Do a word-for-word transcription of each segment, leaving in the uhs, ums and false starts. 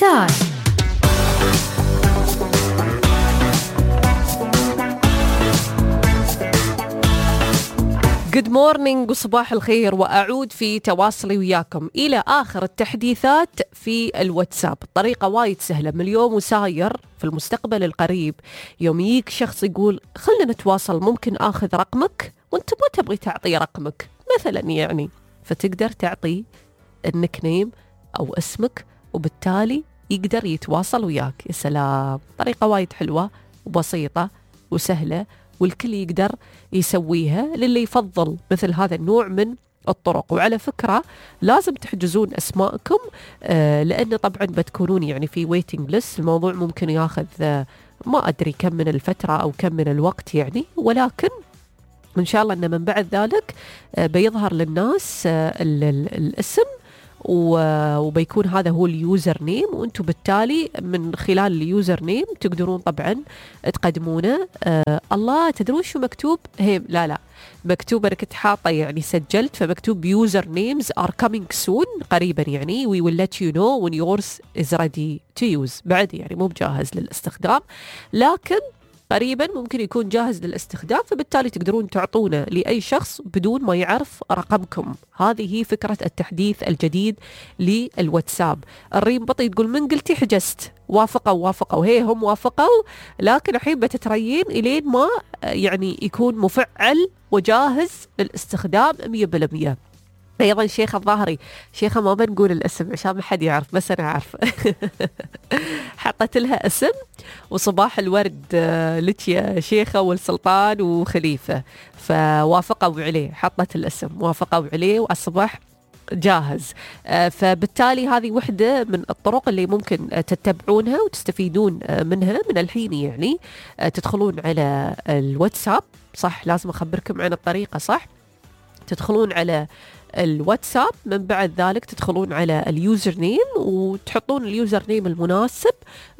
ستار. Good morning وصباح الخير، وأعود في تواصلي وياكم إلى آخر التحديثات في الواتساب. الطريقة وايد سهلة من اليوم وساير في المستقبل القريب. يوم يجيك شخص يقول خلنا نتواصل، ممكن آخذ رقمك، وانت ما تبغي تعطي رقمك مثلا يعني، فتقدر تعطي النك نيم أو اسمك، وبالتالي يقدر يتواصل وياك. يا سلام، طريقة وايد حلوة وبسيطة وسهلة، والكل يقدر يسويها للي يفضل مثل هذا النوع من الطرق. وعلى فكرة لازم تحجزون أسماءكم، آه لأن طبعا بتكونون يعني في waiting list. الموضوع ممكن ياخذ آه ما أدري كم من الفترة أو كم من الوقت يعني، ولكن إن شاء الله أن من بعد ذلك آه بيظهر للناس آه ال ال الاسم، وبيكون هذا هو اليوزر نيم، وانتم بالتالي من خلال اليوزر نيم تقدرون طبعا تقدمونه. آه الله، تدرون شو مكتوب؟ هي لا لا مكتوب، انا كنت حاطه يعني سجلت، فمكتوب يوزر نيمز ار كامينج سون، قريبا يعني we will let you know when yours is ready to use. بعد يعني مو بجاهز للاستخدام، لكن قريبا ممكن يكون جاهز للاستخدام، فبالتالي تقدرون تعطونه لأي شخص بدون ما يعرف رقمكم. هذه هي فكرة التحديث الجديد للواتساب. الريم بطي تقول من قلتي حجزت، وافقوا وافقوا هي هم وافقوا، لكن الحين بتتريين إلين ما يعني يكون مفعل وجاهز للاستخدام مية بالمية. أيضا شيخة الظاهري، شيخة ما بنقول الاسم عشان ما حد يعرف، بس أنا عارفة. حطت لها اسم وصباح الورد لك يا شيخة والسلطان وخليفة، فوافقوا عليه، حطت الاسم وافقوا عليه والصباح جاهز. فبالتالي هذه وحدة من الطرق اللي ممكن تتبعونها وتستفيدون منها من الحين يعني. تدخلون على الواتساب، صح لازم أخبركم عن الطريقة، صح تدخلون على الواتساب، من بعد ذلك تدخلون على اليوزر نيم وتحطون اليوزر نيم المناسب.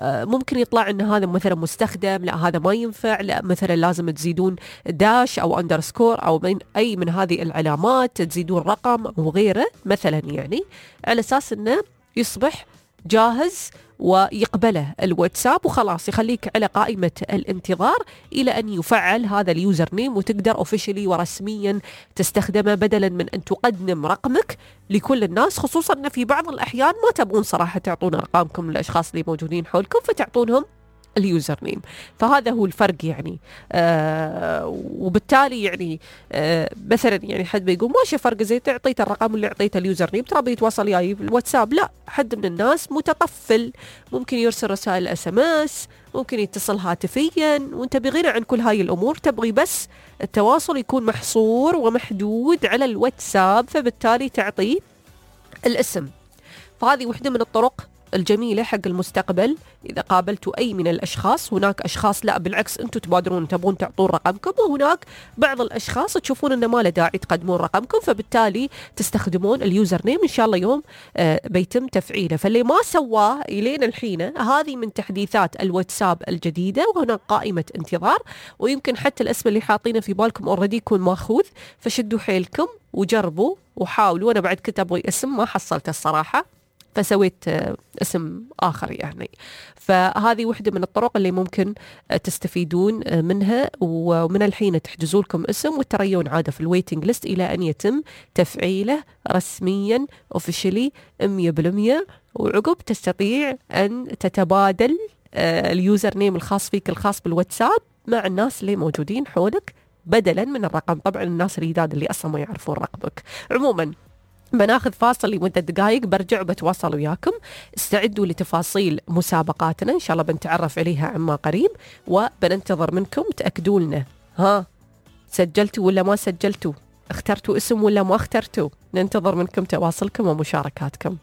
ممكن يطلع ان هذا مثلا مستخدم، لا هذا ما ينفع، لا مثلا لازم تزيدون داش او اندرسكور او من اي من هذه العلامات، تزيدون رقم او غيره مثلا يعني، على اساس انه يصبح جاهز ويقبله الواتساب، وخلاص يخليك على قائمة الانتظار إلى أن يفعل هذا اليوزر نيم، وتقدر أوفيشلي ورسميا تستخدمه، بدلا من أن تقدم رقمك لكل الناس، خصوصا أن في بعض الأحيان ما تبغون صراحة تعطون أرقامكم للأشخاص اللي موجودين حولكم، فتعطونهم اليوزر نيم. فهذا هو الفرق يعني. آه وبالتالي يعني آه مثلا يعني حد بيقول ماشي فرق، زي تعطيته الرقم اللي اعطيته اليوزر نيم ترى بيتواصل وياي بالواتساب. لا، حد من الناس متطفل، ممكن يرسل رسائل اس ام اس، ممكن يتصل هاتفيا، وانت بغنى عن كل هاي الامور، تبغي بس التواصل يكون محصور ومحدود على الواتساب، فبالتالي تعطيه الاسم. فهذه وحدة من الطرق الجميلة حق المستقبل. إذا قابلتوا أي من الأشخاص، هناك أشخاص لا بالعكس أنتوا تبادرون تبون تعطون رقمكم، وهناك بعض الأشخاص تشوفون أنه ما له داعي تقدمون رقمكم، فبالتالي تستخدمون اليوزر نيم. إن شاء الله يوم آه بيتم تفعيله. فاللي ما سواه إلين الحين، هذه من تحديثات الواتساب الجديدة، وهناك قائمة انتظار، ويمكن حتى الاسم اللي حاطينه في بالكم أوريدي يكون ماخوذ، فشدوا حيلكم وجربوا وحاولوا. أنا بعد كنت أبغي اسم ما حصلت الصراحة، فسويت اسم آخر يعني. فهذه وحدة من الطرق اللي ممكن تستفيدون منها، ومن الحين تحجزوا لكم اسم وتريون عادة في الويتنج ليست إلى أن يتم تفعيله رسميا اوفيشلي مية بالمية، وعقب تستطيع أن تتبادل اليوزر نيم الخاص فيك الخاص بالواتساب مع الناس اللي موجودين حولك، بدلا من الرقم طبعا الناس الجداد اللي أصلا ما يعرفون رقمك. عموما بناخذ فاصل لمدة دقائق، برجع وبتواصل وياكم. استعدوا لتفاصيل مسابقاتنا، إن شاء الله بنتعرف عليها عما قريب، وبننتظر منكم تأكدوا لنا ها سجلتوا ولا ما سجلتوا، اخترتوا اسم ولا ما اخترتوا. ننتظر منكم تواصلكم ومشاركاتكم.